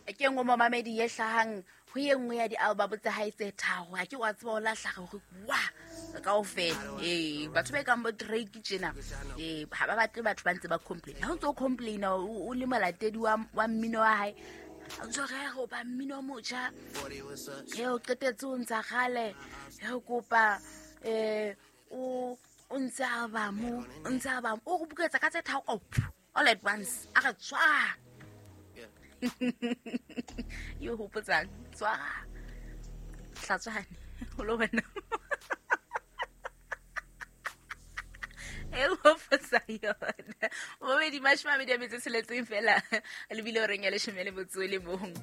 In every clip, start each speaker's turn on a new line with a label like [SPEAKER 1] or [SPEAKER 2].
[SPEAKER 1] Ke nngwe momamedi e hlahang ho ye nngwe ya di-album tsa hae tse tharo. Ha ke wa tseba o lahla hore wa kaofela. Ee, batho ba e kang bo Drake tjena, ee, ha ba batle batho ba ntse ba complain. Ha o ntse o complaina o le molatedi wa mmino wa hae, o ntse o re go ba mmino o motjha, e o qetetse o ntsha kgale, e kopa o o ntse album, o ntse album, o go buketsa ka tse tharo, oh, all at once, a re tswa. Yo hopotsang tswa hlatswane o lo wena e hopotsa yona bobedi 26 fela lebile o reng ya 11.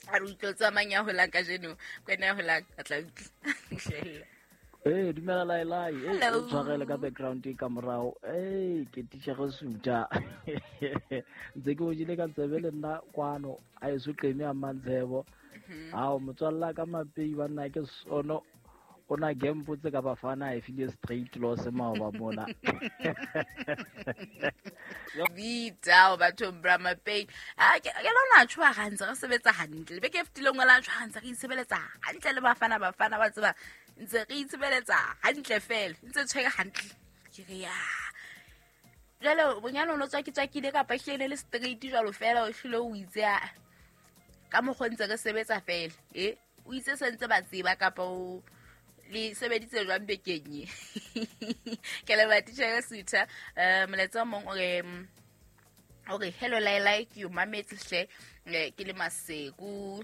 [SPEAKER 1] A re utlwe tsamang ya holang kajeno, kwena ya holang a tla utlwa.
[SPEAKER 2] Ee, dumela Laelai. Ee,
[SPEAKER 1] Hello.
[SPEAKER 2] o tshwarele ka background e ka morago. Ee, ke titšhere Suta. Ntse ke o jele ka tsebe le nna kwano, a eso qeme a mantshebo. Ao, motswalla ka mapei banna ke sono. O na gempotse ka Bafana e file straight loss maoba mona.
[SPEAKER 1] Vita o bathong bra mapei. A ke lona tshwa gantse re sebetsa hantle. Beke e fetileng o la tshwa gantse re itsebeletsa hantle le Bafana Bafana ba tseba ntse re itsebeletsa hantle fela ntse tshwere hantle. Ke re ya. Jwale bonyane o no tswaki-tswakile kapa ehlile ne le straight jwalo fela o hlile o itse a ka mokgwa ntse re sebetsa fela. O itse se ntse ba tseba kapa o le sebeditse jwang bekeng e. Ke leboha titjhere Sutha. Molaetsa o mong o re, okay, hello Laelai, ke o mametse hle, ke le Maseku.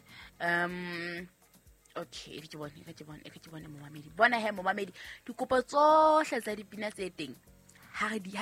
[SPEAKER 1] Okay, e re ke bone, e re ke bone, e re ke bone momamedi. Bona he momamedi, dikopo tsohle tsa dipina tse teng ha re di ha